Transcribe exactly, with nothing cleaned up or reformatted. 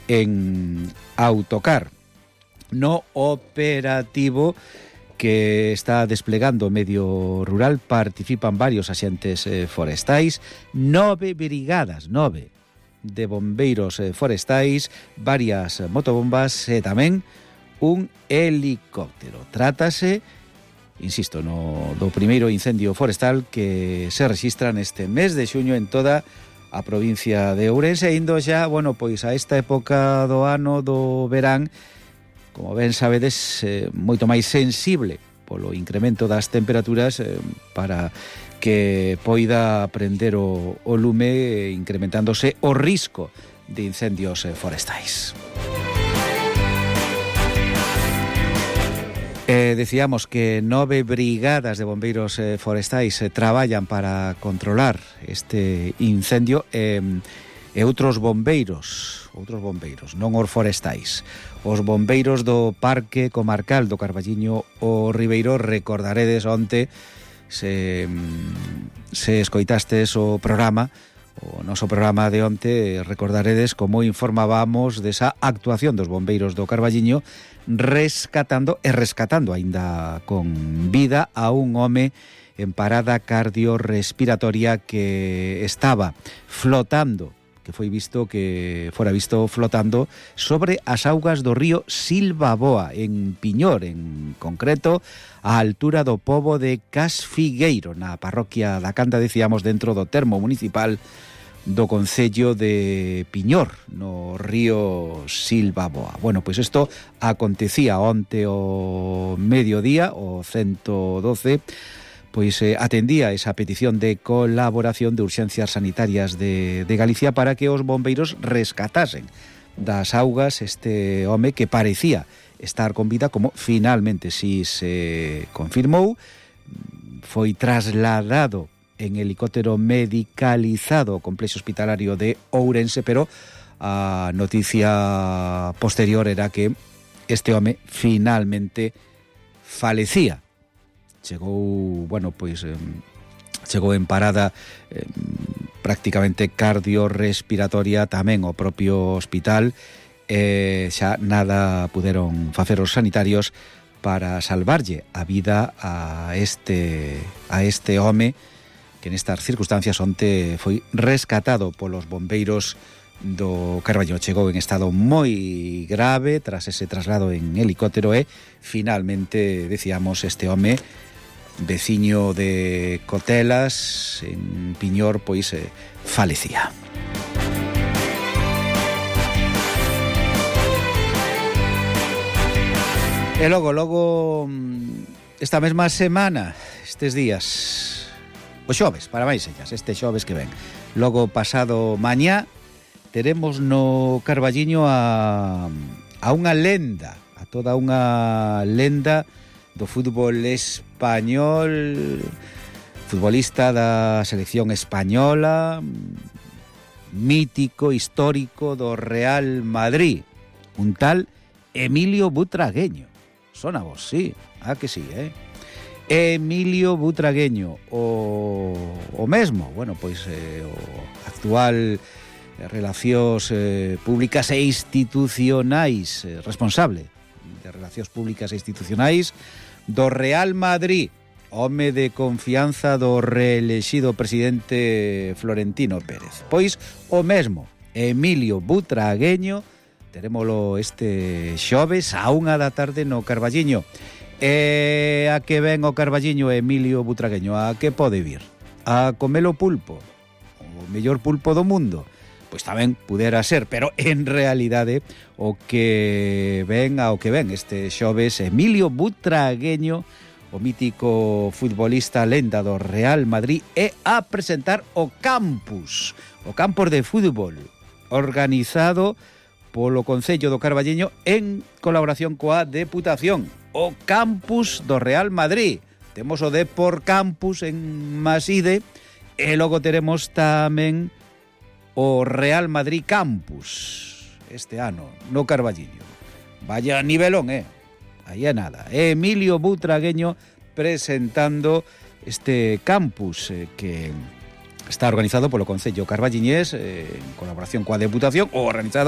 en autocar. No operativo que está desplegando o medio rural participan varios axentes eh, forestais, nove brigadas, nove de bombeiros eh, forestais, varias motobombas e tamén un helicóptero. Trátase, insisto, no do primeiro incendio forestal que se rexistra neste mes de xuño en toda a provincia de Ourense, indo xa, bueno, pois a esta época do ano do verán, como ben sabedes, eh, moito máis sensible polo incremento das temperaturas eh, para que poida prender o, o lume, eh, incrementándose o risco de incendios eh, forestais. Eh, decíamos que nove brigadas de bombeiros eh, forestais eh, traballan para controlar este incendio eh, e outros bombeiros, outros bombeiros, non os forestais. Os bombeiros do Parque Comarcal do Carballiño o Ribeiro, recordaredes onte, se, se escoitastes o programa, o noso programa de onte, recordaredes como informábamos desa actuación dos bombeiros do Carballiño rescatando e rescatando aínda con vida a un home en parada cardiorrespiratoria que estaba flotando, que foi visto que fora visto flotando sobre as augas do río Silvaboa, en Piñor, en concreto, á altura do pobo de Casfigueiro, na parroquia da Canda, decíamos, dentro do termo municipal do concello de Piñor, no río Silvaboa. Bueno, pois isto acontecía onte o mediodía, o ciento doce, pois eh, atendía esa petición de colaboración de Urxencias Sanitarias de, de Galicia para que os bombeiros rescatasen das augas este home que parecía estar con vida, como finalmente si se confirmou. Foi trasladado en helicóptero medicalizado ao complexo hospitalario de Ourense, pero a noticia posterior era que este home finalmente falecía. Chegou, bueno, pois eh, chegou en parada eh, prácticamente cardiorrespiratoria tamén o propio hospital, e eh, xa nada puderon facer os sanitarios para salvarlle a vida a este a este home que nestas circunstancias onte foi rescatado polos bombeiros do Carballo. Chegou en estado moi grave tras ese traslado en helicóptero e finalmente, decíamos, este home veciño de Cotelas, en Piñor, pois eh, falecía. E logo, logo, esta mesma semana, estes días, o xoves, para máis ellas, este xoves que ven, logo pasado mañá, teremos no Carballiño a, a unha lenda, a toda unha lenda do fútbol español, futbolista da selección española, mítico, histórico do Real Madrid, un tal Emilio Butragueño. Sona vos, sí, ah que sí, eh? Emilio Butragueño, o, o mesmo, bueno, pois eh, o actual Relacións eh, Públicas e Institucionais, eh, responsable de Relacións Públicas e Institucionais do Real Madrid, home de confianza do reelexido presidente Florentino Pérez. Pois o mesmo, Emilio Butragueño, terémolo este xoves a unha da tarde no Carballiño. E a que ven o Carballiño Emilio Butragueño? A que pode vir? A comelo pulpo, o mellor pulpo do mundo? Pois tamén pudera ser, pero en realidade o que ven ao que ven este xoves Emilio Butragueño, o mítico futbolista lenda do Real Madrid, é a presentar o campus, o campus de fútbol, organizado polo Concello do Carballiño en colaboración coa Deputación, o campus do Real Madrid. Temos o Depor Campus en Maside e logo teremos tamén o Real Madrid Campus este ano no Carballiño. Vaya nivelón, eh? Aí é nada. Emilio Butragueño presentando este campus eh, que está organizado polo Concello Carballiñés eh, en colaboración coa Deputación, ou organizado